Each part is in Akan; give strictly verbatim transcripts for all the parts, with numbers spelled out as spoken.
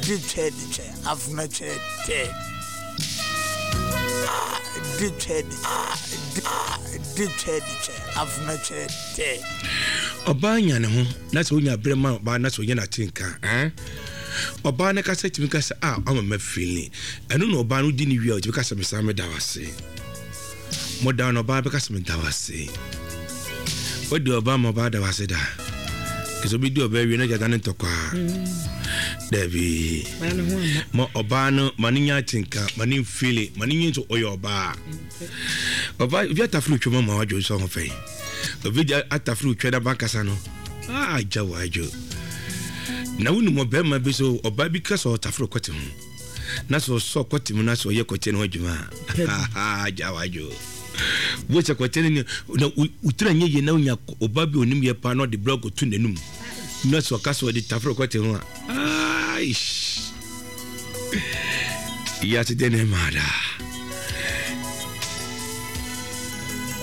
Di twɛ di twɛ afuna twɛ tɛ A di twɛ di A di A di twɛ di twɛ afuna twɛ tɛ. Ɔbaa nya ne ho na sɛ wonya berɛ ma ɔbaa na sɛ ɔnya n'ate nka eh? Ɔbaa no kasa tumi kasa a ɔma ma feeling ɛno na ɔbaa no di ne wie a ɔtumi kasa mesan meda wo ase moda no ɔbaa bɛka sɛ meda wo ase. Wodi ɔbaa ma ɔbaa da wo ase da ɛsɛ obi di ɔbaa wie na gyata ne ntɔkwaa dabi ma ɔbaa no ma ne nya atenka ma ne mfili ma ne nyi nso ɔyɛ ɔbaa. Ɔbaa obi atafere otwa ma wadwo nso ho fɛ obi atafere otwa na bankasa no agya wadwo na wonim ɔbɛrima bi so ɔbaa bi ka sɛ ɔtafere kɔte ho na sɛ ɔsɔ kɔte mu na sɛ ɔyɛ kɔte no ho adwuma a agya wadwo wo sɛ kɔte no na wotira nyɛ yie na wonya ɔbaa bi onim yɛ paa na ɔde brɛ kɔto n'anum na sɛ ɔka sɛ ɔde tafere kɔte ho a aish yɛate dɛ ne maada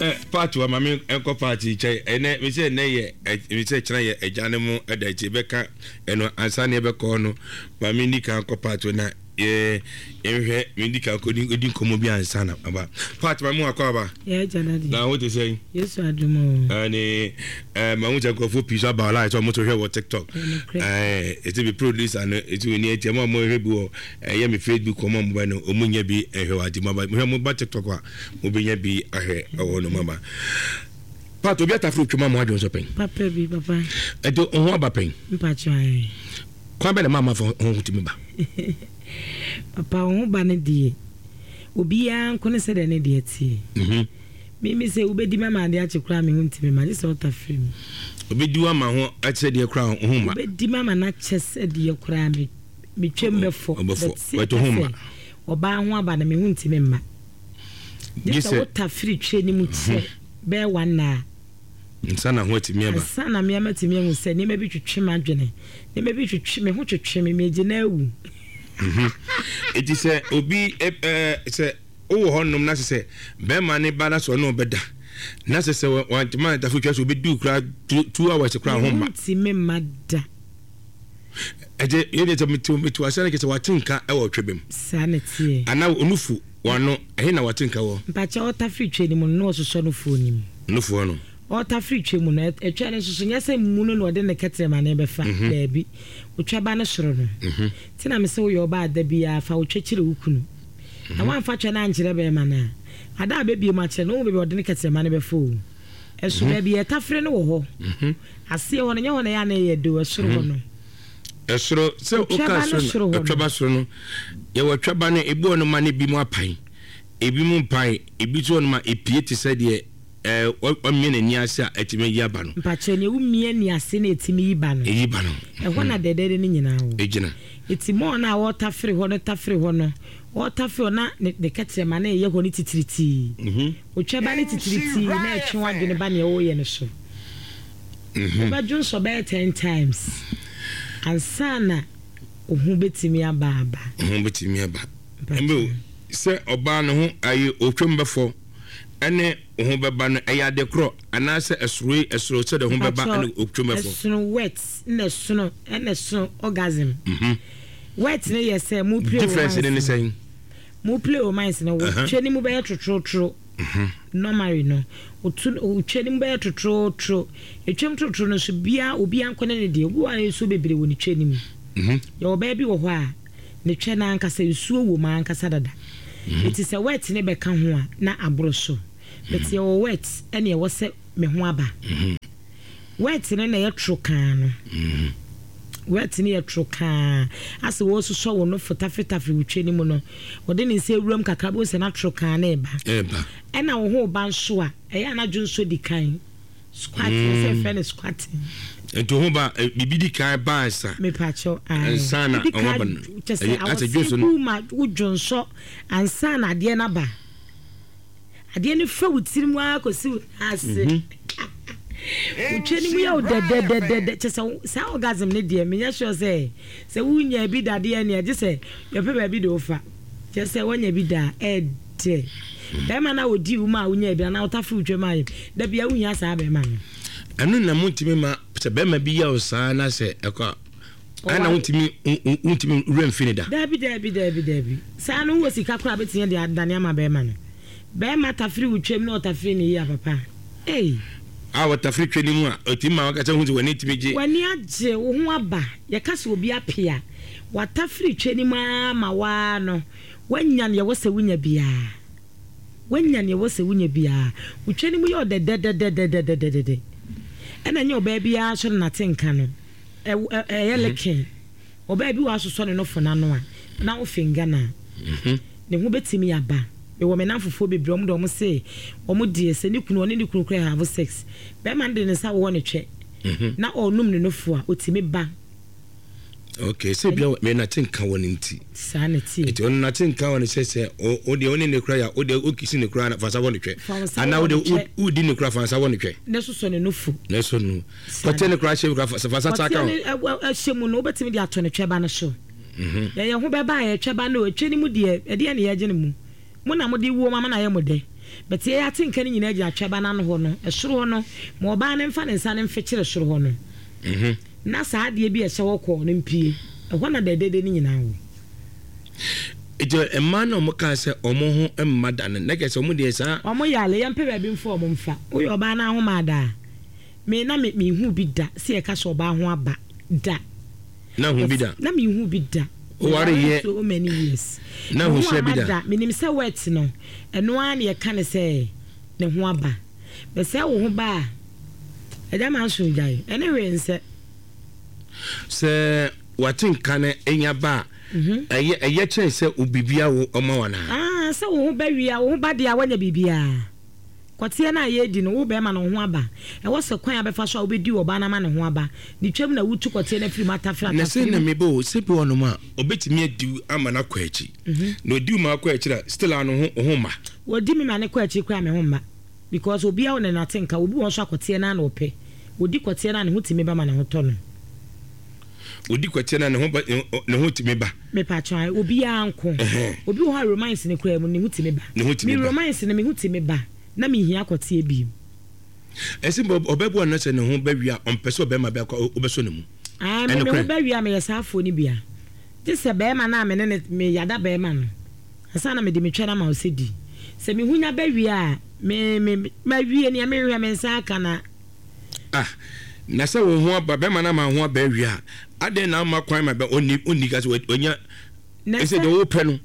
eh, paati wa maame nkɔ paati kyɛ ɛnɛ mesɛ ɛnɛ yɛ mesɛ kyerɛ yɛ agya no mu ɛda akyi bɛka ɛno ansa ne ɛbɛkɔ no maame ni kan kɔ paati na yɛ yɛhwɛ me di kan kɔ di nkɔmmɔ bi ansa na aba paati maame wakɔ aba na wo te sɛ Yesu adom o ɛne ɛɛ mahu sɛ nkurɔfoɔ pii so aba ɔlaa sɛ ɔmo so hwɛ wɔ TikTok ɛɛ ɛti bi producer no ɛti wɔ ni ɛti ɛmo a mo hwɛ bi wɔ ɛyɛ mi Facebook ɔmo a mo ba no ɔmo nya bi ɛhwɛ wɔ ati mo aba mo hwɛ mo ba TikTok a mo bɛ nya bi ahwɛ ɛwɔ no mo aba paati obi ataforo twɛ mu a mo adwene so pɛn papa bi papa ɛti ɔho aba pɛn mpakyɛ ayɛ kwan bɛ na maa ma fɔ ɔho tumi ba papa ɔho ba ne deɛ obiara nko ne sɛ deɛ ne deɛ teɛ mhm mimi sɛ wobɛdi ma ma adeɛ akye koraa me ho ntimi ma gye sɛ ɔtafere mu obi di wa ma ho ɛkyɛ deɛ koraa ɔho ma wobɛdi ma ma n'akyɛ sɛ deɛ koraa me metwam bɛfɔ ɔbɛfɔ. But sɛ Bɛto ho ma. sɛ ɔbaa ho aba no me ho ntimi mma gye Gye sɛ sɛ- wotafere twe ne mu kyɛ bɛyɛ one hour nsa na ho atumi aba ansa na mmea matumi ahu sɛ nneɛma bi twetwe m'adwene nneɛma bi twetwe me ho twetwe me megye na awu eti sɛ obi ɛ ɛɛ sɛ wowɔ hɔnom na sɛ sɛ bɛrima ne ba na sɛ ɔne ɔbɛda na sɛ sɛ wantoma ntafo twa sɛ obɛdi koraa two two hours koraa ho me ma ho ntimi mma da ɛgye yɛde sɛ metu metu asɛ no kɛ sɛ wate nka ɛwɔ twɛ bɛm saa na teɛ anaa onufu wano ɛhe na wate nka wɔ mpakyɛ ɔtafere twe ne mu no na ɔsosɔ no fuo no mu nufoɔ no ɔtafere twe mu no ɛ- ɛtwa no nso so nyɛ sɛ mu no na ɔde ne kɛtrɛma ne bɛfa daabi otwa ba no soro no nti na mesɛ woyɛ ɔbaa da biara fa wotwa kyerɛ wo kunu na woamfa twɛ no ankyerɛ bɛrima no a ada a bɛbie mu akyerɛ no wohu baabi a ɔde ne kɛtrɛma no bɛfa o ɛso baabi yɛtafere no wɔ hɔ aseɛ hɔ no nyɛ hɔ na ɛyɛ a na ɛyɛ de o ɛsoro hɔ no ɛsoro sɛ Otwa woka ba no soro soro no hɔ no. ɛtwa ba soro no yɛwɔ twa ba no ebi wɔ no ma no ebi mu apan ebi mu mpan ebi nso wɔ no ma epie te sɛ deɛ ɛɛ ɔmia n'ani ase a ɛtumi yi aba no mpakyɛ nea womia ni ase na ɛtumi yi ba no eyi ba no ɛhɔ na dɛdɛɛdɛ no nyinaa wɔ egyina eti mɔɔ no a wɔtafere hɔ no tafere hɔ no wɔtafere hɔ na ne ne kɛtrɛma na ɛyɛ hɔ no titiritii mhm otwa ba no titiritii na ɛtwe w'adwene ba nea wɔreyɛ no so mhm wobɛdwo nsɔ bɛyɛ ten times ansa na wo ho bɛtumi aba aba ho bɛtumi aba mbe sɛ ɔbaa no ho ayi otwam bɛfɔ ɛne ho bɛba no ɛyɛ ade korɔ anaasɛ ɛsoro yi ɛsoro sɛ de ho bɛba ɛne otwam bɛfɔ ɛsono wet na ɛsono ɛna ɛsono orgasm mhm wet ne yɛ sɛ mo play difference ne ne romance sɛn mo play romance no Uh-huh. wotwa ne mu bɛyɛ totorotoro normally no otu otwa ne mu bɛyɛ totorotoro etwam torotoro no so bia obi ankɔ ne ne deɛ obi wɔ a nsuo bebree wɔ ne twa ne mu mhm yɛwɔ bɛɛ bi wɔ hɔ a ne twɛ n'ankasa nsuo wɔ mu ankasa dada eti sɛ wet ne bɛka ho a na aboro so but yɛwɔ wet ɛne ɛwɔ sɛ me ho aba wet ne na ɛyɛ toro kaa no wet ne yɛ toro kaa asɛ wɔsosɔ wɔn no fotafetafere wotwa ne mu no wɔde ne nsa ewuram kakra bó sɛ na toro kaa na ɛba ɛba ɛna wo ho ba nso a ɛyɛ anadwo nso di kan squatting mm. sɛ ɛfrɛ no squatting nti ho ba ɛ, biribi di kan ba ansa mepakyɛw Ansa na Wodi ɔho kan aba no. kyɛ sɛ Ɛyɛ- asɛ dwonso awɔse no. gu ma wodwo nsɔ ansa na adeɛ no aba adeɛ no fa wo tirim ara kɔsi wo nan ase wotwa no mu yɛ wo dɛdɛdɛdɛdɛ kyɛ sɛ wo- saa orgasm no deɛ menyɛ sure sɛ sɛ wonya bi dadeɛ nea gye sɛ yɛpɛ baabi de wofa kyɛ sɛ woanya bi da a ɛdɛ bɛrima no a wɔdi wo ma a wonya bi anaa wotafere wotwa mu ayɛ da bia wohia saa bɛrima no ɛno na montumi ma sɛ bɛrima bi yɛ wo saa na sɛ ɛkɔ a Ana wontumi wontumi wura mfini da. Dabi dabi dabi dabi. Saa no wo sika kora bɛtumi de adane ama bɛrima no. Bɛrima tafiri wo twam na ɔtafiri ne yie papa. Ei. A wɔtafiri twa ne mu a ɔtumi ma wakasa hu sɛ w'ani tumi gye. W'ani agye wo ho aba. Yɛka sɛ obi apea. Watafiri twa ne mu ama waa no. Wanya nea ɛwɔ sɛ wonya biara. Wanya nea ɛwɔ sɛ wonya biara. Wo twa ne mu yɛ ɔdɛdɛdɛdɛdɛdɛdɛdɛ. Ɛna nyɛ ɔbaa biara nso na nate nka no. Ɛyɛ leken. Ɔbaa bi wɔ asosɔ ne nofo n'ano a na wo finga na. Ne ho bɛtumi aba. Mewɔ me namfofoɔ bebree ɔmo de ɔmo se ɔmo deɛ sɛ ne kunu ɔne ne kunu kura have sex. Bɛrima no de ne nsa wɔ ne twɛ. Na ɔnum ne nofo a otumi ba. Okay, sɛ bia me nate nka wɔ ne nti. Saa na tie. Eti ɔno nate nka wɔ ne sɛ sɛ o deɛ ɔne ne kura ya o deɛ o kisi ne kura fa nsa wɔ ne twɛ. Ana o deɛ o di ne kura fa nsa wɔ ne twɛ. Ne soso ne nofo. Ne so no. Kɔte ne kura hyɛ kura fa nsa ta ka ho. Kɔte ne ɛhyɛ mu no wobɛtumi de ato ne twɛ ba no so. Mhm. Yɛ ho bɛba a yɛtwɛ ba no etwɛ ne mu deɛ ɛdeɛ ne yɛgye ne mu. Mo na mo de wuo mama na yɛ mo de. But yɛ ate nka ne nyinaa gyina twɛ ba n'ano hɔ no. Ɛsoro hɔ no ma ɔbaa ne mfa ne nsa ne mfekyere soro hɔ no. Mhm. Na saa adeɛ bi a ɛhyɛ hɔ kɔɔ no mpie. Ɛhɔ na dɛdɛdɛ ne nyinaa wɔ. Eti mmaa na ɔmo kaa sɛ ɔmo ho mma da no na kɛ sɛ ɔmo deɛ saa. Ɔmo yale yɛmpɛ baabi mfa ɔmo mfa. Woyɛ ɔbaa na ahoma ada. Me na me mehu bi da sɛ yɛka sɛ ɔbaa ho aba da. Na hu bi da. Na mehu bi da. Oware yɛ so many years. Na hu hyɛ bi da. Menim sɛ wet no ɛno ara na yɛka ne sɛ ne ho aba. Bɛsɛ wo ho ba a ɛgya ma nso gyae. Ɛne hwee nsɛ. Sɛ wate nka no enya ba a ɛyɛ ɛyɛ kyɛn sɛ obibia wo ɔma wa na. Ah, sɛ wo ho ba wie a wo ho ba deɛ a wanya biribiara. Kɔteɛ no a yɛdi no wo bɛrima no wo ho aba. Ɛwɔ sɛ kwan a bɛfa so a wobɛdi ɔbaa no ama ne ho aba. Ne twam na wotu kɔteɛ no afiri mu atafere Na sɛ na mebɔ o sɛ bi wɔnom a ɔbɛtumi adi ama no akɔ akyi. Na odi ma akɔ akyiri a still ano ho ho ma. Wɔdi mi ma ne kɔ akyiri koraa me ho mma. Because obiara wɔ ne nate nka obi wɔ nso akɔteɛ no a na ɔpɛ. Odi kɔteɛ no a ne ho tumi ba ma ne ho tɔ no. Odi kɔteɛ no a ne ho ba ne ho tumi ba. Mepa kyɛw obiara nko. Obi wɔ hɔ a romance ne koraa mu ne ho tumi ba. Ne ho tumi ba. Me romance ne me ho tumi ba na me hia kɔteɛ bi. Ɛsɛ ɔbɛbu ano sɛ ne ho bɛwi a ɔmpɛ sɛ ɔbɛrima bɛkɔ ɔbɛsɔ ne mu. Ah, me me ho bɛwi a meyɛ saa afoɔ no bia. Gye sɛ bɛrima no a me ne ne me yada bɛrima no. Ansa na mede me twɛ no ama wo sɛ di. Sɛ me ho nya bɛwi a me me mawie nea mehwehwɛ me nsa aka na. Ah, na sɛ wo ho aba bɛrima no ama ho aba awie a adɛn na ama kwan ma bɛ ɔnni ɔnni ka sɛ ɔnya ɛsɛ deɛ wopɛ no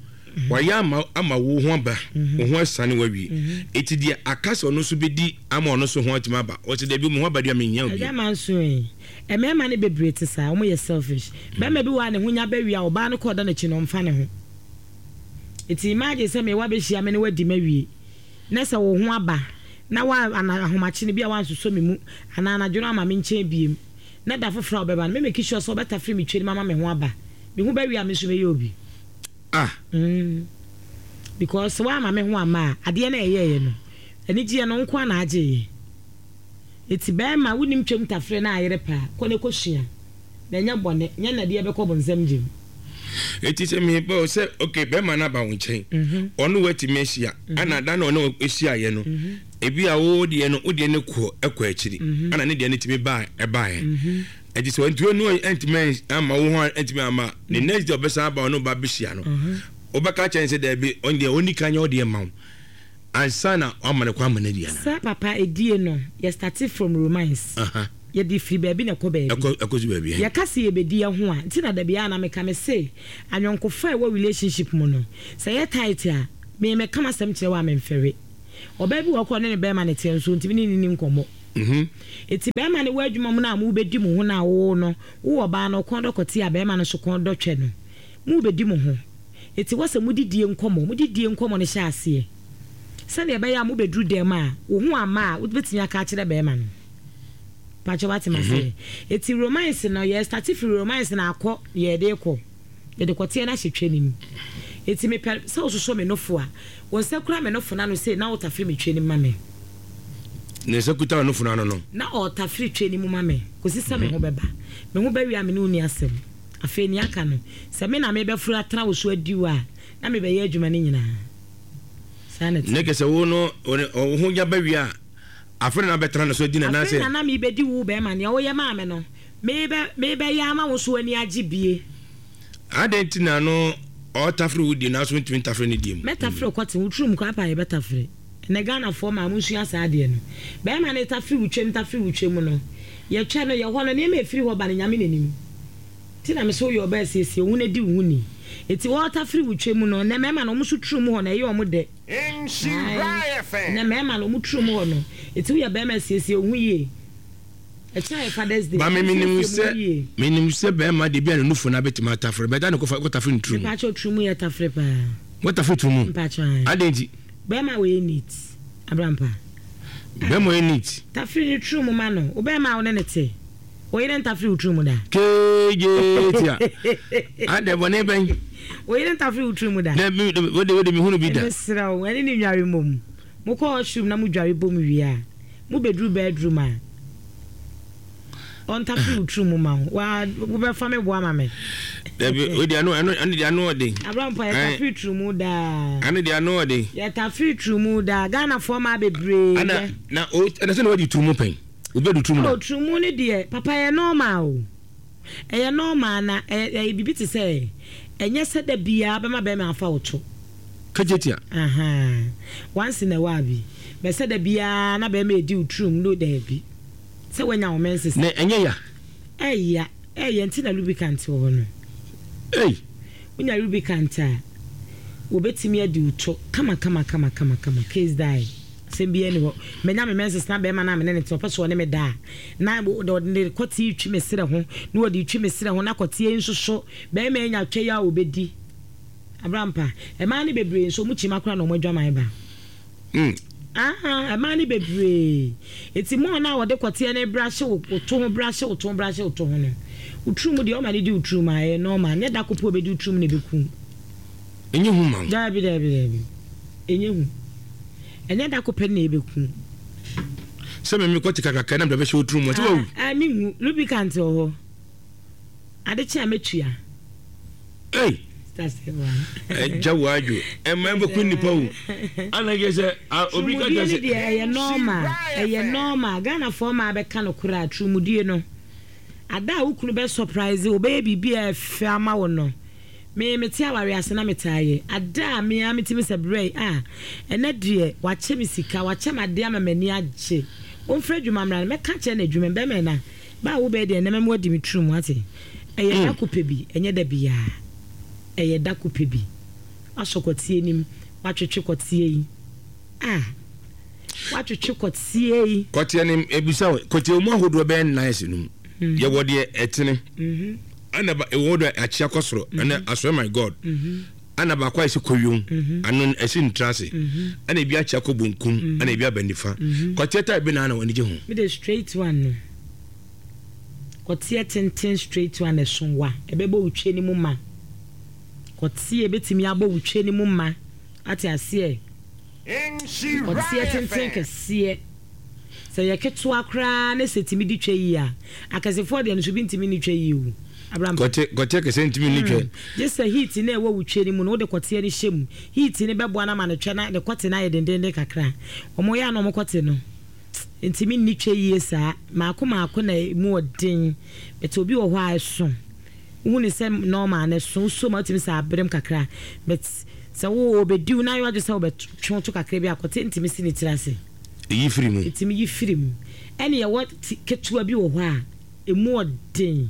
wayɛ ama ama wo ho aba wo ho asane wawie eti deɛ aka sɛ ɔno nso bɛdi ama ɔno nso ho atumi aba ɔsɛ dɛbi mu ho aba deɛ menya obi. Ɛgya ma nso yi mmarima no bebree te saa wɔn yɛ selfish. Bɛrima bi wɔ a ne ho nya bɛwie a ɔbaa no kɔ ɔda n'akyi no ɔmfa ne ho. Eti imagine sɛ mewa bɛhyia me ne wadi ma wie na sɛ wo ho aba na wa ana ahomakye no bi a wansosɔ me mu anaa anadwo no ama me nkyɛn biem na da foforɔ a ɔbɛba no me make sure sɛ ɔbɛtafere me twɛ no ama me ho aba me ho bɛwie a me nso mɛyɛ obi. Ah. Mm. Because wa ama me ho ama a adeɛ na ɛyɛɛyɛ no anigyeɛ no nko ana agyeeɛ. Eti bɛrima wonim twam tafere na ayere paa kɔ ne kɔsua na ɛnyɛ bɔne nyɛ nadeɛ bɛkɔ bonsam gyem. Eti sɛ mebɔ sɛ okay bɛrima no aba wo nkyɛn ɔno watumi ahyia ana da na ɔno ahyia yɛ no ebi a wo deɛ no wo deɛ no kɔ ɛkɔ akyiri ana ne deɛ no tumi ba ɛbaeɛ. Eti sɛ ɔntumi no ɛntumi ama wo ho ɛntumi ama ne next day ɔbɛsan aba ɔno ba bɛhyia no ɔbɛka kyɛn sɛ daabi ɔno deɛ ɔni kan nyɛ ɔdeɛ ma wo ansa na ɔama ne kwan ama no adi ana. Sɛ papa edie no yɛ start from romance. Yɛde firi baabi na ɛkɔ baabi. Ɛkɔ ɛkɔ si baabi. Yɛka sɛ yɛbɛdi ɛho a nti na dabi a na meka me se anyɔnkofa a ɛwɔ relationship mu no sɛ yɛ tight a me meka m'asɛm kyerɛ wo a memfɛre. Ɔbaa bi wɔ kɔ ne ne bɛrima ne teɛ nso ntumi ne ne ni nkɔmmɔ. Mhm. Eti bɛrima ne wɔ adwuma mu na mo bɛdi mo ho na wo no wo ɔbaa no kɔn dɔ kɔte a bɛrima no so kɔn dɔ twɛ no mo bɛdi mo ho. Eti wɔ sɛ mo didie nkɔmmɔ mo didie nkɔmmɔ no hyɛ aseɛ sɛdeɛ ɛbɛyɛ a mo bɛduru dɛm a wo ho ama a wobɛtumi aka akyerɛ bɛrima no. Pacho wate ma se. Eti romance no yɛ start firi romance na akɔ yɛ de kɔ. Yɛ de kɔteɛ na hyɛ twɛ nim. Eti me pɛ sɛ wososo me nofo a wo nsa kura me nofo na no se na wotafiri me twɛ nim ma me. Ne nsa kuta nofo na no no. Na ɔtafiri twɛ nim ma me. Kosi sɛ me ho bɛba. Me ho bɛwie a me ne wo ni asɛm. Afei ni aka no. Sɛ me na me bɛfuru atena wo so adi wo a na me bɛyɛ adwuma ne nyinaa. Saa na Ne kɛ sɛ wo no wo ho nya bɛwie a afei na bɛtena no so adi na na Afei sɛ na na me bɛdi wo bɛrima nea woyɛ maa me no Mebɛyɛ ama wo so ani agye bie. Adɛn nti na no ɔtafere wo die na so ntumi ntafere ne die mu? Mɛtafere kɔte wo turum kɔ apa yɛbɛtafere. Ɛnɛ Ghanafoɔ maa mo nsua saa adeɛ no. Bɛrima no tafere wo twam, tafere wo twam no, yɛtwa no, yɛhɔ no, nneɛma ɛfiri hɔ ba no Nyame n'anim. Nti na me sɛ woyɛ ɔbaa asiesie wo ho na di wo ho ni. Nti wɔtafere wo twam no, ɛnɛ mmarima no ɔmo so turum hɔ no ɛyɛ ɔmo dɛ. Ɛnɛ mmarima no ɔmo turum hɔ no, nti woyɛ bɛrima asiesie wo ho yie. Ɛkyɛ yɛ Father's Day. Ba me menim sɛ menim sɛ bɛrima de bi a ne nufu na bɛtumi atafere bɛda ne kɔfa kɔtafere ne turum. Mpakyɛ turum yɛ tafere paa. Wɔtafere turum. Mpakyɛ. Adɛn nti? Bɛrima wɔ yɛ neat. Abrampa. Bɛrima yɛ neat. Tafere ne turum ma no. Wo bɛrima wo ne ne te. Wo yere ntafere wo turum da. Keje tia. Adɛn bɔne bɛn? Wo yere ntafere wo turum da. Na mi wo de wo de mi hunu bi da. Mesrɛ wo, ɛne ne nware mmom. Mokɔ washroom na mo dware bom wie a, mo beduru bedroom a, ɔntafere wo turum ma wo. Wa wobɛfa me boa ma me. Dabi, wo de ano ano ano de ano ɔden. Abrampa yɛtafere turum daa. Ano de ano ɔden. Yɛtafere turum daa. Ghanafoɔ maa bebree. Ana na o ɛna sɛ na wadi turum pɛn. Obi adu turum da. Oh, turum ne deɛ papa yɛ normal o. Ɛyɛ normal na ɛyɛ biribi te sɛ ɛnyɛ sɛ da biara bɛma bɛrima afa wo to. Kejetia. Aha. Once in a while bi. Bɛ sɛ da biara na bɛrima edi wo turum no daabi. Sɛ wanya wo menses. Na ɛnyɛ ya. Ɛyɛ ɛyɛ nti na lubricant wɔ hɔ no. Ei. Wonya lubricant a wobɛtumi adi wo to kama kama kama kama kama case die. Sɛm bi ani hɔ. Menya me menses na bɛrima na me ne ne te ɔpɛ so ɔne me da. Na ɔde ne kɔte twi me serɛ ho na ɔde twi me serɛ ho na kɔte nso so bɛrima anya twɛ ya obɛdi. Abrampa, ɛmaa ne bebree nso ɔmo kyima koraa na ɔmo adwaman ba. Mm. Ah, ɛmaa ne bebree. Eti mo na wɔde kɔteɛ ne brahye wo to ho brahye wo to ho brahye wo to ho no. Wo turum deɛ ɔma ne di wo turum a ɛyɛ normal. Nyɛ da kopo obɛdi wo turum na ɛbɛkum. Ɛnyɛ hu ma wo. Daabi daabi daabi. Ɛnyɛ hu. Ɛnyɛ da kopɛ na ɛbɛkum. Sɛ me me kɔte kakraka na mede bɛhyɛ wo turum sɛ wawu. Ah, mi hu lubricant wɔ hɔ. Ade kye a mɛtua. Ei. Ɛgya wo adwo. Ɛma ɛbɛku nnipa o. Ana yɛ sɛ obi ka kyerɛ sɛ deɛ ɛyɛ normal. Ɛyɛ normal. Ghanafoɔ maa bɛka no koraa turumudie no. Ada a wo kunu bɛ surprise wo bɛyɛ biribi a ɛfɛ ama wo no. Me mete aware ase na metaa yɛ. Ada a me a metumi sɛ brɛ a ɛnɛ deɛ wakyɛ me sika, wakyɛ me adeɛ ama m'ani agye. Ɔmfrɛ adwuma mmra no mɛka kyerɛ no adwuma bɛrima na ba a wo bɛyɛ deɛ ɛnɛ mɛma wadi me turum ate. Ɛyɛ da kopɛ bi, ɛnyɛ da biara. Ɛyɛ da kopɛ bi. Wasɔ kɔteɛ nim, watwetwe kɔteɛ yi. Ah. Watwetwe kɔteɛ yi. Kɔteɛ nim ebisa wo, kɔteɛ mu ahodoɔ bɛyɛ nnan si no mu. Yɛwɔ deɛ ɛtene. Ɛna ba ɛwɔ deɛ akyea kɔ soro. Ɛna I swear my God. Ɛna baako a ɛsi kɔyom. Ano ɛsi ntra ase. Ɛna ebi akyea kɔ bonkum. Ɛna ebi aba nifa. Kɔteɛ ta ebi na ana wɔn ani gye ho. Me de straight one no. Kɔteɛ tenten straight one ɛso wa. Ɛbɛbɔ wo twe ne mu ma. Kɔteɛ betumi abɔ wo twe ne mu ma. Ate aseɛ. Kɔteɛ tenten kɛseɛ. Sɛ yɛ ketewa koraa ne sɛ tumi di twa yi a, akɛsefoɔ deɛ no so bi ntumi ni twa yi o. Abraham. Kɔte kɔteɛ kɛseɛ ntumi ni twa. Gye sɛ heat na ɛwɔ wo twa no mu no wode kɔteɛ no hyɛ mu. Heat no bɛboa no ama no twɛ na ne kɔte no ayɛ dendenden kakra. Ɔmo yɛ a na ɔmo kɔte no ntumi nni twa yie saa. Maako maako na emu ɔden. But obi wɔ hɔ a ɛso. Wohu ne sɛ normal na ɛso so ma wotumi sɛ abrem kakra. But sɛ wo obɛdiw na ayɛ wadwe sɛ wobɛtwe to kakra bi a kɔte ntumi si ne tiri ase. Eyi firi mu. Ɛtumi yi firi mu. Ɛne yɛwɔ ketewa bi wɔ hɔ a emu ɔden.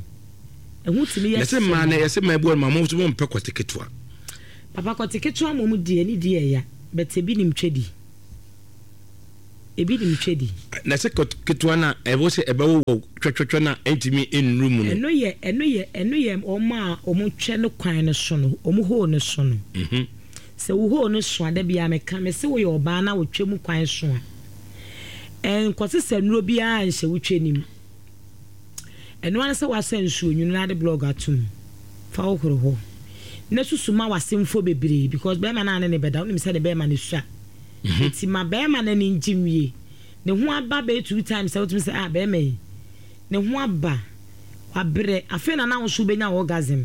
Ɛho tumi yɛ. Na sɛ mmaa no yɛsɛ mmaa bi wɔ no ma mo nso mo mpɛ kɔte ketewa. Papa kɔte ketewa mo mu deɛ ne di ɛya but ebi nim twɛ di. Ebi nim twɛ di. Na sɛ kɔte ketewa na ɛwɔ sɛ ɛbɛwɔ wɔ twɛtwɛtwɛ na ɛntumi nnuru mu no. Ɛno yɛ ɛno yɛ ɛno yɛ ɔmo a ɔmo twɛ no kwan no so no ɔmo hole no so no. Mhm. Sɛ wo hole no so a da biara meka me sɛ woyɛ ɔbaa na wotwa mu kwan so a ɛnkɔse sɛ nnuro biara nhyɛ wo twɛ nim. Ɛno ara sɛ wasa nsuo nwunu na ade blog atom fa wohoro hɔ na susu ma w'asemfo bebree because bɛrima no a ne ne bɛda wonim sɛ ne bɛrima no sua. Nti ma bɛrima no ani ngye nwie ne ho aba bɛyɛ two times sɛ wotumi sɛ ah bɛrima yi ne ho aba wabrɛ afei na na wo nso wobɛnya orgasm.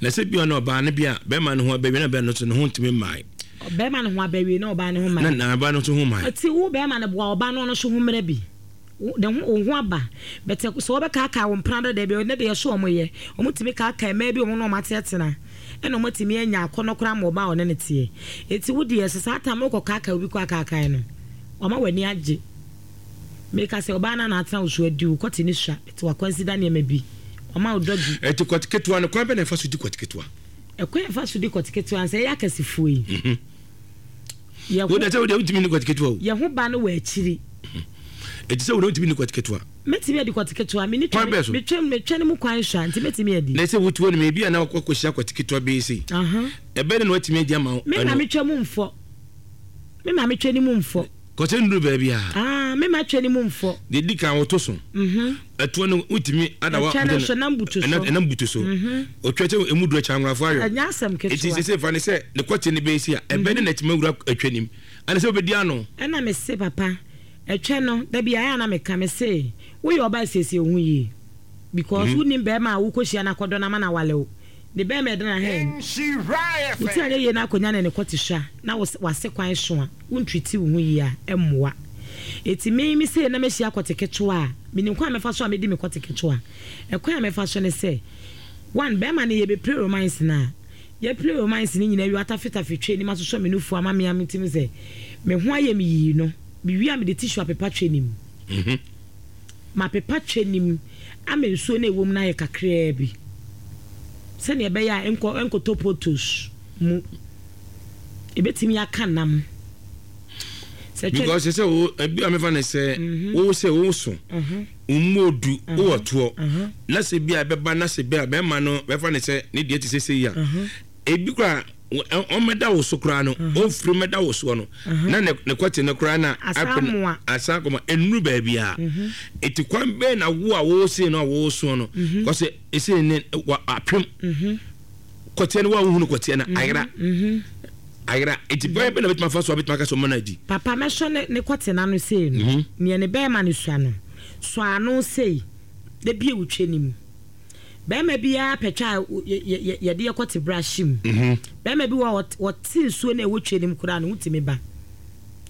Na sɛ bia na ɔbaa no bia bɛrima no ho abɛwie na bɛrima no nso ne ho ntumi mmae. Bɛrima no ho abɛwie na ɔbaa no ho mmae. Na na ɔbaa no nso ho mmae. Ɔti wo bɛrima no boa ɔbaa no ɔno nso ho mmerɛ bi. Ne ho wo ho aba. But sɛ wɔbɛkaakaa wo mpena dada bi, ɛnɛ deɛ yɛso wɔn yɛ. Wɔtumi kaakaa mmaa bi wɔn ne wɔn atenatena. Ɛna wɔatumi anya akɔnnɔ koraa ma ɔbaa a ɔne no teɛ. Enti wo deɛ sɛ saa time wokɔ kaakaa obi kɔ akaakae no, wama w'ani agye. Meka sɛ ɔbaa no a na atena wo so adi wo kɔte ne sua, but wakwansida nneɛma bi. Wama wo dɔgi. Enti kɔte ketewa no, kwan bɛn na yɛfa so di kɔte ketewa? Ɛkwan a yɛfa so di kɔte ketewa no, sɛ yɛyɛ akɛsefoɔ yi, yɛ ho. Wo deɛ sɛ wo deɛ wontumi nni kɔte ketewa o. Yɛ ho ba no wɔ akyiri. Enti sɛ wo deɛ wontumi nni kɔte ketewa. Mɛtumi adi kɔte ketewa. Menni Kwan bɛn so? Metwam metwa no mu kwan sua nti mɛtumi adi. Na sɛ wotu anim ebi a na wakɔhyia kɔte ketewa bɛyɛ sei. Ɛbɛyɛ dɛn na watumi adi ama wo? Me maame twa mu mfɔ. Me maame twa ne mu mfɔ. Kɔte nnuru baabi a. Ah, me ma twa ne mu mfɔ. Deɛ di kan woto so. Mhm. Ɛtoɔ no wotumi ada wa. Ɛtwa no so nam butu so. Ɛnam butu so. Otwa sɛ emu duru akyɛ anworafo ayɔ. Ɛnyɛ asɛm ketewa. Eti sese fa ne sɛ ne kɔte no bɛyɛ sei a, ɛbɛyɛ dɛn na atumi awura atwa nim? Ɛne sɛ wobɛdi ano. Ɛna mese papa. Ɛtwɛ no, da bi ayɛ a na meka, mese, woyɛ ɔbaa siesie wo ho yie because wonnim bɛɛma a wokɔhyia no akɔdɔ no ama no awale wo, ne bɛɛma ɛda n'aha mu, wo ti anyɛ yie na akɔnya no ne kɔte sua na wo w'ase kwan so a, wo ntriti wo ho yie a, ɛmmoa. Enti me, me sei na mɛhyia kɔte ketewa a, menim kwan a mɛfa so a mɛdi me kɔte ketewa. Ɛkwan a mɛfa so ne sɛ, one, bɛɛma no yɛbɛpire romance no a, yɛpire romance no nyinaa wie, watafetafe twa anim asosɔ me nufoɔ ama me a metumi sɛ me ho ayɛ me yii no, Mewie a mede tissue apepa twɛ no mu. Mapepa twɛ no mu ama nsuo no a ɛwɔ mu no ayɛ kakraa bi sɛdeɛ ɛbɛyɛ a ɛnkɔ ɛnkɔtɔ potos mu. Ɛbɛtumi aka nam. Sɛ twɛ. Because sɛ wo ebi a mefa no sɛ wo sɛ wo so wo mu odu wo wɔ toɔ na sɛ bi a ɛbɛba na sɛ bi a bɛrima no bɛfa no sɛ ne deɛ te sɛ sei a ebi koraa ɔmmɛda wo so koraa no ɔmfiri mmɛda wo soɔ no na ne ne kɔte no koraa na asan akɔma ɛnuru baabi a ɛti kwan bɛn na wo a wɔresee no a wɔresoɔ no kɔsɛ ɛsɛ ne apem kɔteɛ no wo a wohunu kɔteɛ no ayera ayera ɛti kwan bɛn na bɛtumi afa so a bɛtumi aka sɛ ɔma no adi. Papa mɛsɔ ne ne kɔte no ano sei no neɛ ne bɛrima no sua no sɔ ano sei na bie wo twɛ no mu. Barima biara pɛ twa a yɛde yɛ kɔte bra hye mu. Barima bi wɔ hɔ a ɔte nsuo no a ɛwɔ twa no mu koraa ne ho tumi ba.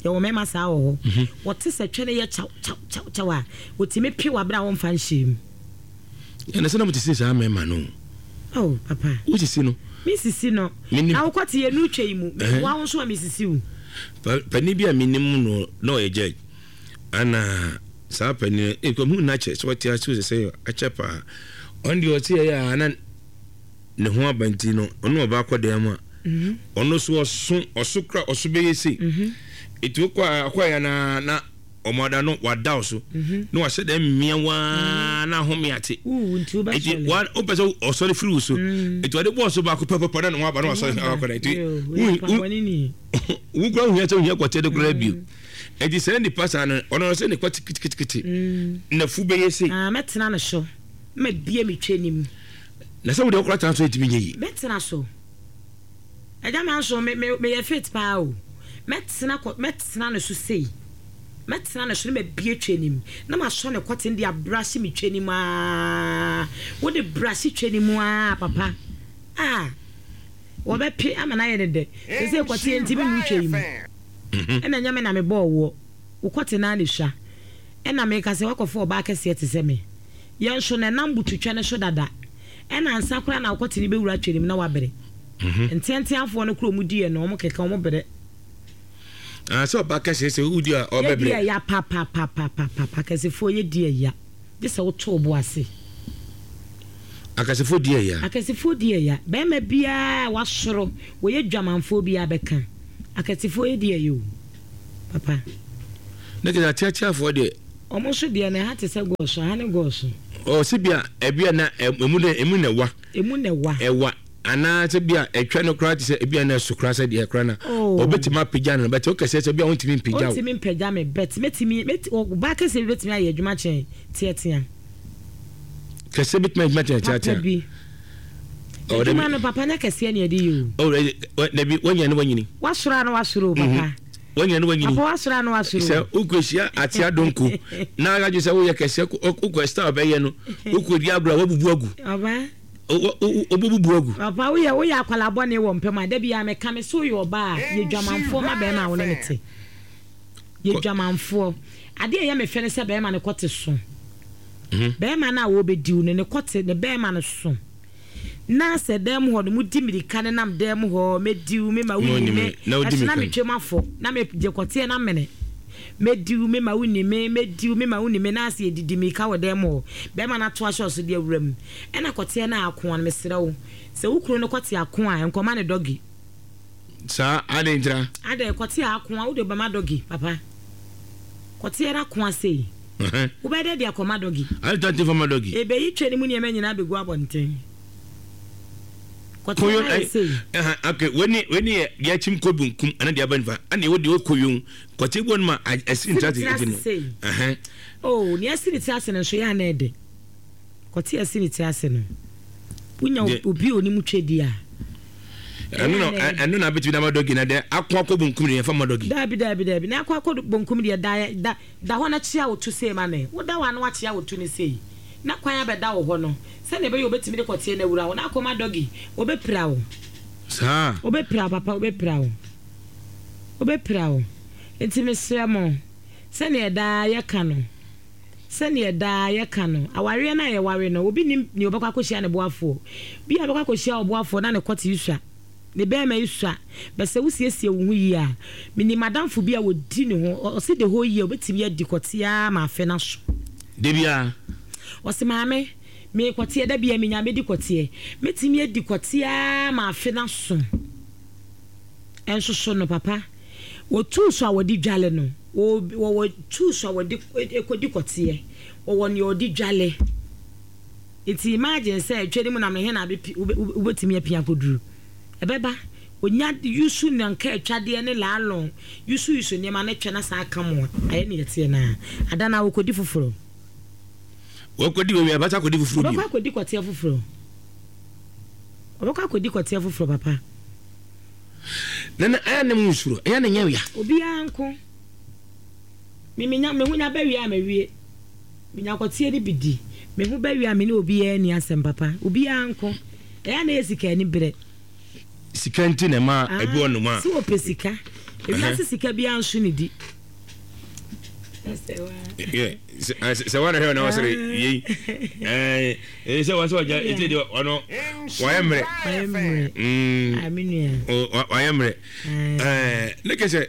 Yɛwɔ mmarima saa wɔ hɔ. Wɔte sɛ twɛ no yɛ kyaw kyaw kyaw kyaw a, wɔtumi pe wɔ abere a wɔmfa nhyɛɛ mu. Ɛna sɛ na mo sisi saa mmarima no. Oh papa. Wo sisi no. Me sisi no. Na wo kɔte yɛ nu twa yi mu. Wa wo nso a me sisi wo. Panin bi a menim no na ɔyɛ judge. Ana saa panin no eh, hu no akyɛ sɛ ɔte ase sɛ sɛ akyɛ paa. Ɔno deɛ ɔte yɛ a na ne ho aba nti no ɔno ɔba akɔ dan mu a mhm. ɔno so ɔso ɔso kora ɔso bɛyɛ sei mhm. ɛti wokɔ akɔ yɛ na na ɔmo ada no wada wo so mhm. na wahyɛ dɛ mmea waa na ahome ate ɛti wa wopɛ sɛ ɔsɔre firi wo so ɛti ɔde bɔɔ so baako pɛpɛpɛ na ne ho aba na wasɔre akɔ dan nti wo kura wohia sɛ wohia kɔteɛ de koraa bio. Enti saa nipa saa no, ɔno sɛ ne kɔte kitikiti, mm. na fu bɛyɛ sei. Ah, mɛtena no so, mabie me twɛ nim. Na sɛ wode wokora tena so ɛtumi nyɛ yi. Mɛtena so. Agya ma nso me me meyɛ fit paa o. Mɛtena kɔ mɛtena no so sei. Mɛtena no so na mabie twɛ nim. Na masɔ ne kɔte de abrahye me twɛ nim aa. Wode brahye twɛ nim aa papa. Ah. Wɔbɛpe ama no ayɛ ne dɛ. Sɛ sɛ kɔte ntimi nnu twɛ yi mu. Ɛna ɛnyɛ me na mebɔɔ woɔ, wo kɔte no ara na ɛsua. Ɛna meka sɛ, Woakɔfa ɔbaa kɛseɛ te sɛ me? Yɛn nso no, ɛnam butu twɛ no so dada. Ɛna ansa koraa na wo kɔte no bɛwura twɛ no mu na woabrɛ. Nteanteafoɔ no koraa wɔdi yɛn no, wɔkeka, wɔbrɛ. Ah, sɛ ɔbaa kɛseɛ sɛ wodi a ɔbɛbrɛ. Yɛdi ɛya papapapapapa, akɛsefoɔ yɛdi ɛya. Gye sɛ woto wo bo ase. Akɛsefoɔ di ɛya. Akɛsefoɔ di ɛya. Barima biara a wasoro, wɔyɛ dwamanfoɔ biara bɛka. Akɛsefoɔ yɛ di ɛya o, papa. Ne kɛ ateateafoɔ deɛ. Wɔn nso deɛ no ɛha te sɛ gɔɔso, ɛha ne gɔɔso. Ɔ sɛ bia ɛbia na emu dɛ emu na ɛwa. Emu na ɛwa. Ɛwa. Anaa sɛ bia ɛtwa no koraa te sɛ ebia na ɛso koraa sɛ deɛ koraa na Oh. ɔbɛtumi apagya no bɛtɛ wokɛseɛ sɛ bia wontumi mpagya wo. Ɔntumi mpagya me but mɛtumi mɛti ɔbaa kɛseɛ bi bɛtumi ayɛ adwuma kyɛn teatea. Kɛseɛ bɛtumi ayɛ adwuma kyɛn Papa teatea. bi. Oh, Adwuma dabi. no papa nyɛ kɛseɛ na yɛde yɛ o. Oh, eh, eh, dabi wanya ne wanyini. Wasoro a na wasoro o papa. Wanya ne wanyini. Papa wasoro a na wasoro Sɛ o. wokɔhyia atea donko na adwe sɛ woyɛ kɛseɛ wokɔ style bɛyɛ no wokɔdi agorɔ a woabubu agu. Ɔbaa. Wobɛbubu agu. Papa woyɛ woyɛ akwadaa bɔne wɔ mpam a da biara meka me so woyɛ ɔbaa a yɛ dwamanfoɔ ma bɛrima a wo ne no te. Yɛ dwamanfoɔ. Adeɛ a ɛyɛ me fɛ ne sɛ bɛrima no kɔte so. Bɛrima no a wɔbɛdi wo no, ne kɔte, ne bɛrima no so. Na sɛ dan mu hɔ no, modi mmirika nenam dan mu hɔ, mɛdi wo, mema wonni me, ɛso na metwam afɔ, na megye kɔteɛ no amene. Mɛdi wo, mema wonni me, mɛdi wo, mema wonni me, na asɛ yɛdidi mmirika wɔ dan mu hɔ. Bɛrima no ato ahyɛ wo so de awura mu. Ɛna kɔteɛ no a akoa no, mesrɛ wo, sɛ wo kunu no kɔte ako a, nkɔma no dɔgi. Saa, adɛn ntira? Adɛn, kɔteɛ ako a, wode bɛma dɔgi, papa? Kɔteɛ no akoa sei. Wobɛyɛ dɛ de akɔma dɔgi? Adɛn nti fa ma dɔgi? Ebeyi twɛ no mu nneɛma nyinaa begu abɔnten. Kɔteɛ no ayɛ sei. Okay, wei wei yɛ deɛ akyim kɔ benkum ɛna deɛ aba nifa ɛna ɛwɔ deɛ ɔkɔ yom. Kɔteɛ bi wɔ no ma ɛsi ne tiri ase sei. Oh, nea ɛsi ne tiri ase no nso yɛ ana ɛde. Kɔteɛ ɛsi ne tiri ase no. Wonya obi a onim twɛ di a. Ɛno na ɛno na abɛtumi na ama dɔgi na deɛ akɔ akɔ bonkum deɛ yɛfa ma dɔgi. Daabi daabi daabi na akɔ akɔ bonkum deɛ da da da hɔ na kyea wo to sei ma me. Woda hɔ a na wakyea wo to no sei na kwan abɛda wo hɔ no sɛdeɛ ɛbɛyɛ obɛtumi de kɔteɛ no awura wo na akɔma dɔgi obɛpira wo. Saa. Obɛpira wo papa, obɛpira wo, obɛpira wo. Nti mesrɛ mo, sɛdeɛ daa yɛka no, sɛdeɛ daa yɛka no, awareɛ no a yɛware no, obi nim nea ɔbɛkɔ akɔhyia ne boafoɔ. Bi a ɔbɛkɔ akɔhyia ɔboafoɔ na ne kɔte yi sua, ne bɛrima yi sua. Bɛsɛ wosiesie wo ho yie a, menim adamfo bi a wɔdi ne ho, ɔse the whole year obɛtumi adi kɔte ara ma afe no aso. Da biara. Ɔse maame, me kɔteɛ da biara menya mɛdi kɔteɛ. Mɛtumi adi kɔte ara ma afe no aso. Ɛnso so no papa, wɔtuu so a wɔde dwale no, wɔwɔ tuu so a wɔde kɔdi kɔteɛ, wɔwɔ nea ɔde dwale. Nti imagine sɛ twɛ ne mu nam ne he na wobɛtumi apia akɔduru. Ɛbɛba, onya yusu nanka atwadeɛ ne laalɔn, yusu yusu nneɛma ne twɛ na saa aka mo a, ayɛ ne yɛteɛ naa. Ada na wɔkɔdi foforɔ. Wɔkɔdi wɔ wia, bɛsa akɔdi foforɔ bio. Ɔbɛkɔ akɔdi kɔteɛ foforɔ. Ɔbɛkɔ akɔdi kɔteɛ foforɔ papa. Nana, ɛyɛ ne mu nsuro, ɛyɛ ne nyɛ wia. Obiara nko. Me menya me ho nya bɛwie a mawie. Menya kɔteɛ no bi di. Me ho bɛwie a me ne obiara ni asɛm papa. Obiara nko. Ɛyɛ na yɛ sika ani berɛ. Sika nti na ɛma ebi wɔ nom a. Sɛ wɔpɛ sika. Ewiase sika biara nso ne di. Sɛ wɔn ahwɛ na wɔsere yei ɛɛ sɛ wɔn sɛ wɔgya eti deɛ ɔno wɔayɛ mmerɛ. Wɔayɛ mmerɛ. Wɔayɛ mmerɛ. Ɛɛ ne kɛ sɛ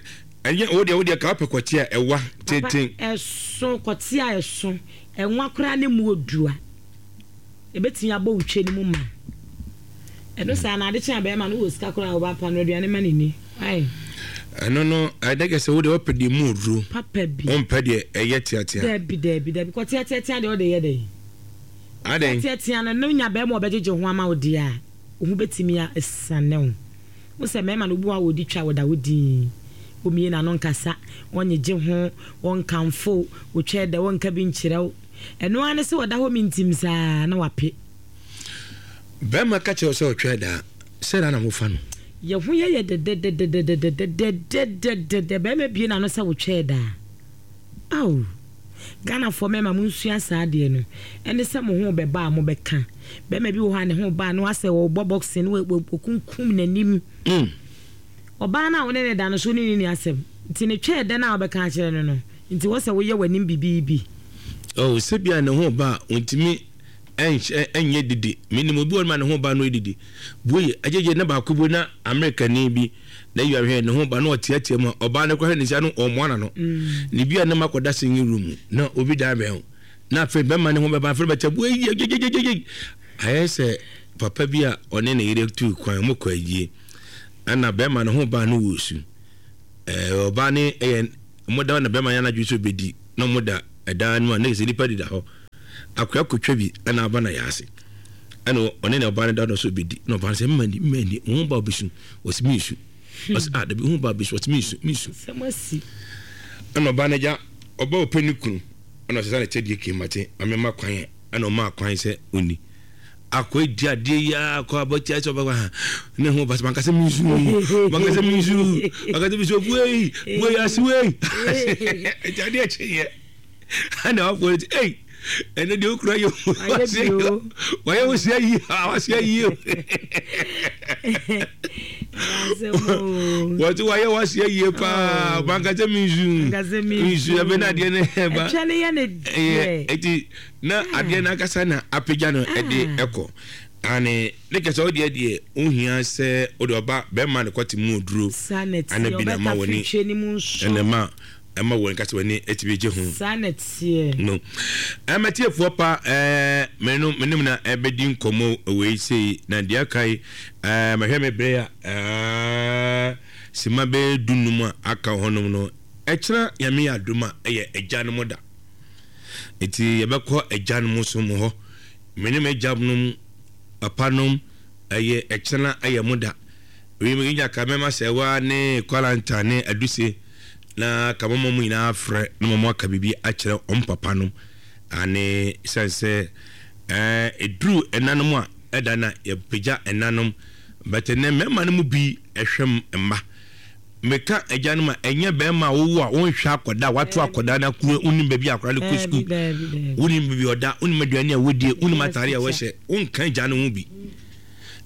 ɛnyɛ o deɛ o deɛ kaa pɛ kɔte a ɛwa tenten. Ɛso kɔte a ɛso ɛnwa koraa ne mu odua ebetumi abɔ wotwe ne mu ma ɛno saa na ade kyɛn abɛɛma no wɔ sika koraa a ɔba pa no aduane ma ne ni. Ɛno no ɛdɛ kɛ sɛ wo deɛ wɔpɛ deɛ mu oduro. Papa bi. Wɔmpɛ deɛ ɛyɛ teatea. Dabi dabi dabi kɔ teateatea deɛ ɔde yɛ dɛ. Adɛn. Teatea no no nya bɛrima ɔbɛgyegye ho ama wo deɛ a wo ho bɛtumi asane wo. Wo sɛ mmarima no obi wɔ a wɔdi twa wɔda wo din. Omie n'ano nkasa, wɔnyegye ho, wɔnkamfo, wotwɛ dɛ wɔnka bi nkyerɛ wo. Ɛno ara ne sɛ wɔda hɔ mintim saa na wape. Bɛrima ka kyerɛ wo sɛ ɔtwɛ daa, sɛ na na mofa no. Yɛ ho yɛ yɛ dɛdɛdɛdɛdɛdɛdɛdɛdɛdɛ bɛrima bie n'ano sɛ wotwɛ daa. Aw, Ghanafoɔ mmarima mo nsua saa adeɛ no. Ɛne sɛ mo ho bɛba a mobɛka. Bɛrima bi wɔ hɔ a ne ho ba no asɛ wɔbɔ boxing no wɔkunkum n'anim. Ɔbaa no a wo ne ne da no so ne ne ni asɛm. Nti ne twɛ dɛ no a wobɛka akyerɛ no no. Nti wɔ sɛ woyɛ w'anim bibiibi. Oh, sɛ bia ne ho ba a ontumi ɛnyɛ didi. Menim obi wɔ no ma ne ho ba no edidi. Bue agyegye na baako bi na Amerika ni bi na yi ahwɛ ne ho ba na ɔteatea mu a ɔbaa no kɔhwɛ ne nsa no ɔmmoa n'ano. Ne bi a ne ma kɔda singing room na obi dan bɛn ho. Na afei bɛma ne ho bɛba afei bɛkyɛ bue gyegyegyegye. Ayɛ sɛ papa bi a ɔne ne yere tu kwan mo kɔ ayie. Ɛna bɛrima ne ho ba no wɔ su. Ɛɛ ɔbaa ne ɛyɛ mo da na bɛrima yɛ anadwo so bɛdi na mo da ɛdan no a ne sɛ nipa deda hɔ. Akoa kotwa bi ɛna aba na yɛ ase. Ɛna ɔne ne ɔbaa no da no so bɛdi na ɔbaa no sɛ mma ni mma ni ho ba bɛsu ɔsi mi nsu. Ɔsi ah dabi ho ba bɛsu ɔsi mi nsu mi nsu. Ɛna ɔbaa no agya ɔbaa ɔpɛ ne kunu ɛna ɔsesa ne kyɛdeɛ kemate amema kwan ɛna ɔmaa kwan sɛ ɔni. Akɔ edi adeɛ yi akɔ abɔkye sɛ ɔbɛkɔ ha ne ho basa mankasa mi nsu mankasa mi nsu mankasa mi nsu buei buei ase wei ɛti adeɛ kye yɛ ɛna wafɔ ɛti ei ɛnɛ deɛ okura yɛ wayɛ wosia yie wasia yie. Wɔte wayɛ waseɛ yie paa. Bankasɛ mi nsu nsu ɛbɛ na adeɛ no ɛba ɛtwa ne yɛ ne deɛ. Eti na adeɛ no ankasa na apagya no ɛde ɛkɔ ane ne kɛsɛ. Wodeɛ deɛ wohia sɛ wode ɔba bɛrima ne kɔte mu oduro ana bi na ma w'ani ɛna ma ɛma wɔn kasa w'ani ɛtumi gye ho. Saa na teɛ. No ɛmɛtiefoɔ pa, ɛɛ mɛnu mɛnum na ɛbɛdi nkɔmɔ wei sei na deɛ aka yi, ɛɛ mɛhwɛ me bere a ɛɛ sima bɛyɛ dunum a aka hɔnom no. Ɛkyerɛ Nyame yɛ adum a, ɛyɛ agya no mo da, nti yɛbɛkɔ agya no mo so mo hɔ. Mene me agya nom, papa nom, ɛyɛ ɛkyerɛ ɛyɛ mo da. Wei mi nya ka mɛma sɛ wa ne kwalanta ne aduse na ka mɔmɔ mu nyinaa frɛ na mɔmɔ aka biribi akyerɛ ɔm papa nom ane sɛn sɛ ɛɛ eduru ɛnanom a ɛda na yɛpagya ɛnanom bɛtɛ nɛ mmarima no mu bi ɛhwɛ mma. Meka agya no ma ɛnyɛ bɛrima a wowo a wonhwɛ akɔda a wato akɔda no akuro, wonim baabi a akɔda no kɔ sukuu, wonim baabi ɔda, wonim aduane a wɔdie, wonim atare a wɔhyɛ, wonka agya no ho bi.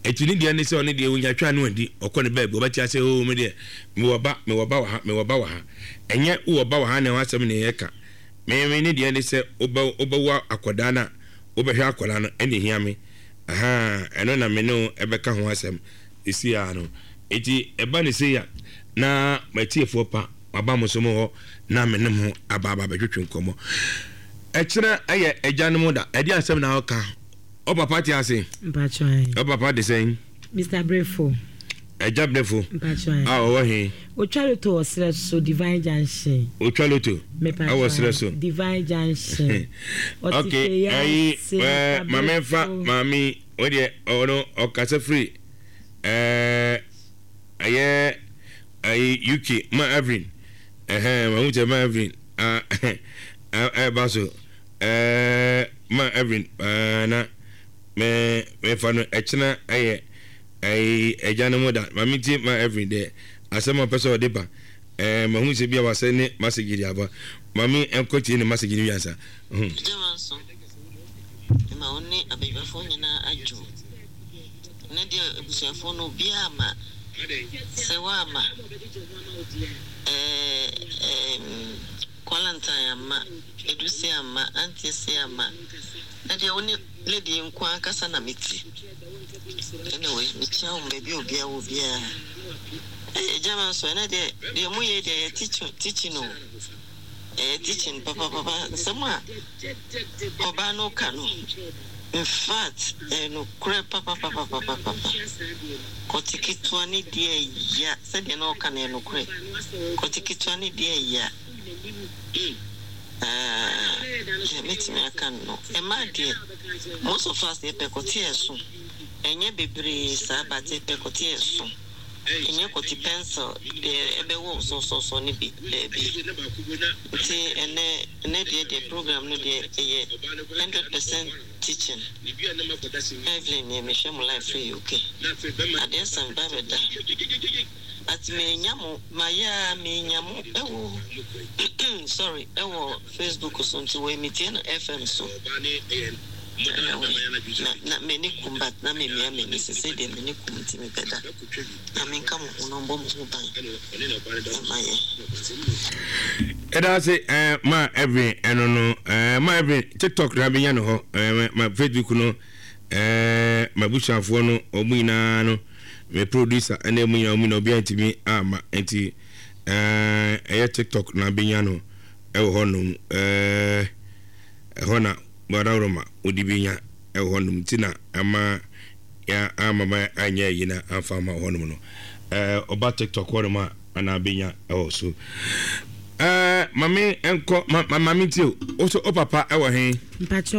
Ɛti ne deɛ ne sɛ ɔne deɛ wonya twa no adi, ɔkɔ ne baabi, ɔbɛte ase o, me deɛ mewɔ ba, mewɔ ba wɔ ha, mewɔ ba wɔ ha. Ɛnyɛ wowɔ ba wɔ ha na ɛho asɛm ne yɛka. Me ne deɛ ne sɛ wobɛwo akɔda no a wobɛhwɛ akɔda no ɛne hia me aha. Ɛno na me ne wo ɛbɛka ho asɛm ɛsi a no. Eti ɛba ne sei a, na matiefoɔ pa waba mo so mo hɔ na me ne mo aba aba bɛtwetwe nkɔmmɔ. Ɛkyerɛ ɛyɛ agya no mu da, ɛde asɛm na ɔka. Ɔ papa te ase? Ɔ papa de sɛn? Mister Brefo. Ɛgya Brefo a ɔwɔ he? Otwa loto wɔ serɛ so, Divine Junction. Otwa loto ɛwɔ serɛ so. Divine Junction. Ok, ɛyi ɛɛ maame nfa maame o deɛ, ɔno ɔkasa firi ɛɛ ɛyɛ ɛyi U K, ma Evelyn ɛhɛn mahu sɛ ma Evelyn a ɛɛba so, ɛɛ ma Evelyn ɛɛ na mɛ mɛfa no. Ɛkyena ɛyɛ ɛyi ɛgya no mu da. Maame ti ma Evelyn deɛ asɛm a ɔpɛ sɛ ɔde ba, ɛɛ mahu sɛ bi a wasɛ ne message de aba. Maame ɛnkɔ tie ne message no wiasa. Gyama nso ma wo ne abadwafoɔ nyinaa adwo ne deɛ abusuafoɔ no obiara ma sɛ woama Quarantine ama Edusi ama Auntie ama na deɛ wo ne lady nko ankasa na mete. Anyway, mekyia wo baabi a obiara wɔ biara. Ɛyɛ gyama nso ɛnɛ deɛ deɛ moyɛ deɛ yɛ teaching teaching o, ɛyɛ teaching papapapa. Nsɛm a ɔbaa no ka no, in fact, ɛyɛ nokorɛ papapapapapa. Kɔte ketewa ne deɛ ya sɛdeɛ na ɔka no, ɛyɛ nokorɛ. Kɔte ketewa ne deɛ ya deɛ mɛtumi aka no, ɛmaa deɛ most of us yɛpɛ kɔte ɛso, ɛnyɛ bebree saa, but yɛpɛ kɔte ɛso, ɛnyɛ kɔte pencil deɛ ɛbɛwɔ sɔsɔsɔ ne bi baabi. Nti ɛnɛ ɛnɛ deɛ deɛ program no deɛ ɛyɛ hundred percent teaching. Evelyn yɛ mehwɛ mo live free U K. Adeɛ san ba bɛda, but menya mo mayɛ a menya mo ɛwɔ, sorry, ɛwɔ Facebook so, nti wɔ emitie no F M so. Anyway, na na m'ani kum, but na memia m'ani sese deɛ m'ani kum, nti mebɛda na menka mo ho na ɔmbɔ mo ho ban ɛma yɛ. Ɛda ase ɛɛ ma Evelyn. Ɛno no ɛɛ ma Evelyn TikTok na bɛnya no hɔ, ɛɛ ma Facebook no, ɛɛ ma busuafoɔ no wɔn nyinaa no, me producer ɛna ɛmu nyinaa, wɔn nyinaa obiara ntumi ama, nti ɛɛ ɛyɛ TikTok na bɛnya no ɛwɔ hɔnom. ɛɛ ɛhɔ na Badaworoma wode bi nya ɛwɔ hɔnom, nti na ama ya ama ma anyɛ yi na amfa ama hɔnom no. ɛɛ ɔba TikTok hɔnom a ana bɛnya ɛwɔ so. ɛɛ maame nkɔ ma ma maame nti o, o so o papa ɛwɔ he? Mpakyɛ.